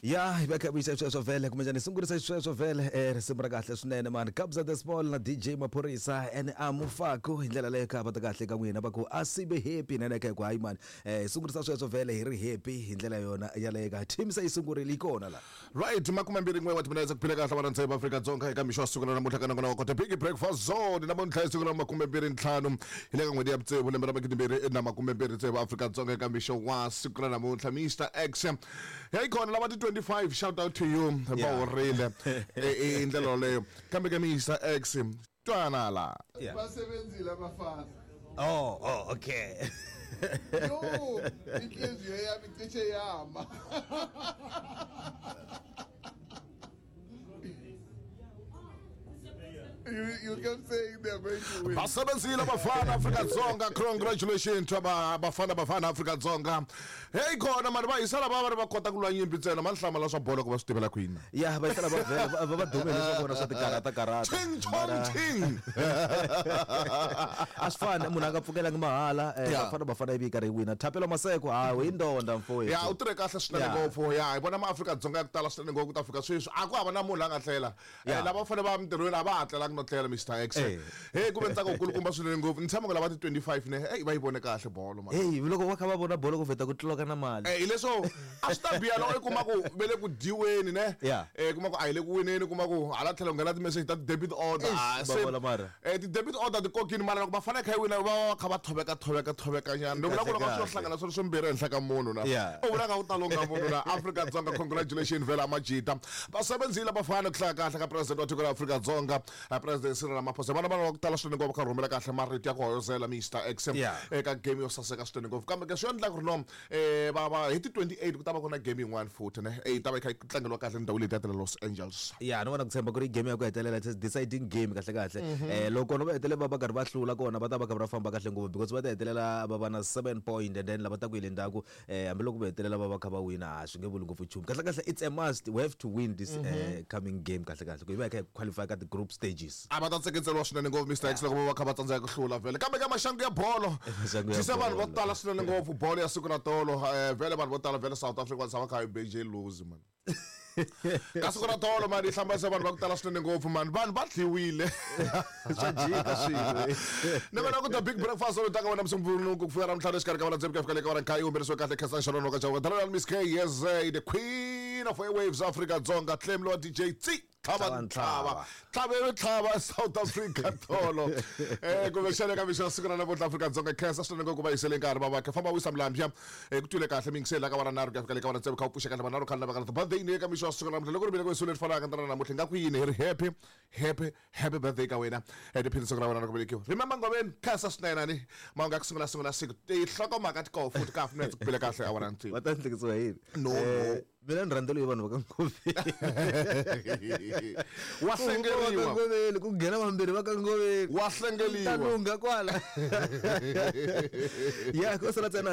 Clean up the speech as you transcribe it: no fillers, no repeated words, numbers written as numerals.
Ya hi va kha vuyisa sweswo vhele kumbexani hi sungurisa xisweswo vhele risimu ra kahle swinene mani Kabza the Small na DJ Maphorisa and Amufaku hi ndlela leyo kha va ta kahle ka n'wina va ku a sibe happy na neke ku hayi mani hi sungurisa sweswo vhele hi ri happy hi ndlela yona yaleyo ka team se yi sungurile yi kona la. Right, makumembirhi n'we wa timinetse ku phila kahle vana ntsena Afrika-Dzonga eka mixo wa siku ra namuntlha ka nongonoko kota Big Breakfast Zone. Namuntlha hi siku ra 25 hi le ka n'hweti ya vutsevu lembe ra 2026 Afrika-Dzonga eka mixo wa siku ra namuntlha. Mr X hey kona lava ti 25, shout out to you, va horile i ndlela yoleyo. Kambe ka Mr X twana la. Basebenzile abafana. Oh, okay. Yo, inhliziyo yami cishe yama. You kept saying they're going to win. Basebenzile abafana Afrika-Dzonga, congratulations to abafana bafana Afrika-Dzonga. Hey khona mani va hisela va va ri va kota ku lwa nyimpi ntsena mani hlamala swa bolo ku va swi tivela kwini. Ya va hisela va vhele va dume leswa vona swa tikarata karata. Ching chong ching. A swi fani munhu a nga pfukelangi mahala bafana bafana ivi karhi yi wina. Thapelo Maseko ha hi ndonda mfowethu. Ya u tirhe kahle swinene ngopfu. Ya hi vona maAfrika-Dzonga ya ku tala swinene ngopfu ku ta fika sweswi a ku hava na munhu la nga tlela. Lava fanele va mintirhweni a va ha tlelangi no tlela Mr X. Hey ku ve ntsako wukulukumba swinene ngopfu. Ni tshama ku lava ti 25 ne. Hey va yi vone kahle bolo man. Hey loko va kha va vona bolo ku vheta ku tluka na mali. Hi leswo a swi ta biha loko i kuma ku ve le ku dyiweni ne. Kuma ku a hi le ku wineni, kuma ku hala tlhelo nghena ti-message ta ti-debit order. Ti debit order ti kokini mara loko va fanele kha yi wina va va kha va thoveka thoveka thoveka nyana. Ni vula ku loko swo hlangana swilo swimbirhi ehenhla ka munhu na. U vula nga ku ta longha munhu na. Afrika-Dzonga congratulations vhela majita. Basebenzile abafana ku hlaya kahle ka president wa tiko ra Afrika-Dzonga President Cyril Ramaphosa. Vana vanhu va ku tala swinene ngopfu va kha rhumela kahle marito ya ku hoyozela Mr X eka game yo saseka swinene ngopfu. Kambe ke swi endla ku ri no va va hi ti 28 ku ta va ku na game yin'wana futhi ne yi ta va yi kha yi tlangeriwa kahle ndhawu leyi ta le Los Angeles. Ya ni vona ku tshemba ku ri game ya ku hetelela it's deciding game kahle kahle. Loko kona va hetelela va va karhi va hlula kona va ta va kha va famba kahle ngopfu because va ta hetelela va va na 7 point and then lava ta ku yi le ndzhaku hambiloko va hetelela va va kha va wina a swi nge vuli ngopfu nchumu. Kahle kahle it's a must, we have to win this coming game kahle kahle ku hi va hi kha hi qualify ka ti-group stages. A va ta tseketseriwa swinene ngopfu Mr X loko va va kha va tsandzeka ku hlula vhele. Kambe ka maxangu ya bolo dyisa vanhu vo tala swinene ngopfu bolo ya siku ra tolo. Vhele vanhu vo tala vhele South Africa va tshama kha yi BJ lose man. Ka siku ra tolo mani yi hlambanisa vanhu va ku tala swinene ngopfu mani vanhu va dliwile. Swa jika swilo. Ni vona ku the big breakfast lowu taka wena musumbhunuku ku fika ravutlhanu exikarhi ka vona tsevu ku ya fika le ka vona nkaye yi humelerisiwe kahle Khensani Xanono ka Chauke Dalala Miss K yes the queen of airwaves Afrika Dzonga claim lowa DJ Tsi tlhava ntlhava tlhavelo tlhava South Africa tolo kumbexana eka mixo ya siku ra namuntlha Afrika Dzonga khensa swinene ngopfu va yisele nkarhi va va famba wisa milambya ku twile kahle mingiseli la ka vana nharhu ku ya fika le ka vana tsevu kha u pfuxa kahle vanharhu khale na vakala birthday ni eka mixo ya siku ra namuntlha loko ri bile ku leri fanaka ntana namuntlha nga ku yini hi ri happy happy happy birthday ka wena tiphini siku ra wena ra ku velekiwa remember ngomeni khensa swinene ani mahungu ya ku sungula sungula siku tinhlokomhaka ti koho futhi ka half minutes ku bile kahle awara ntsevu va ta ndlekisiwa hi yini No, no. Mina ni rhandzela vanhu va ka Ngoveni. Wa hlengeriwa. Ngoveni ku nghena vambirhi va ka Ngoveni. Wa hlengeriwa. Ta lungha kwala. Ya ko sala tsena.